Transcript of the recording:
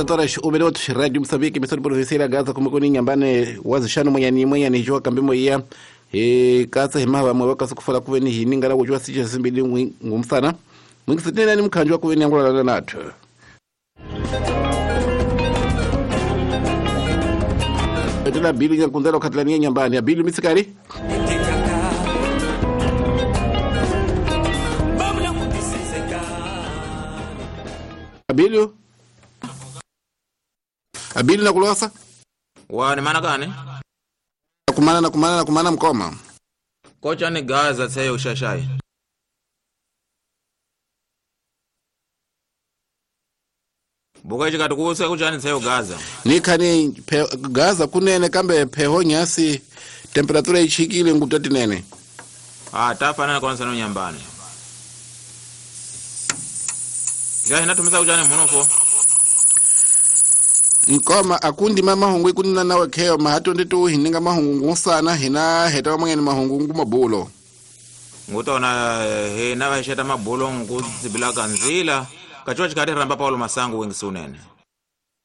17 horas 1 minuto, Rádio Moçambique, emissora de província Gaza, como kuni nyambane wazishano mwenyani mwenyani jua kambimo iya e katsa himava mwe wakasa kufala kuveni hini ngala kujua sija simbili ngumsana mwingisitena ni mkhanjwa kuveni angula nathu. Tena bili nyakunzela ukhatilania nyambani ya bili mitsikari Abilio Abili nakulosa wa ni mana kani kumana na kumana na kumana mkoma kocha ni Gaza tseyo ushashai buka chikati kuse kuchani tseyo Gaza nikhani Gaza kunene kambe pheho nyasi temperatura ichikile ngutati nene ah tafanana kwanza no nyambani ja inatumisa kuchani munofo nkoma akundi ma mahungu ikunina nawe kheo mahato nditu hininga mahungu ngusana hina heta mwangeni mahungu ngumabulo ngutona hina vaxeta mabulo ngudzibila kanzila kachiwa chikati ramba Paulo Masangu wengisunene.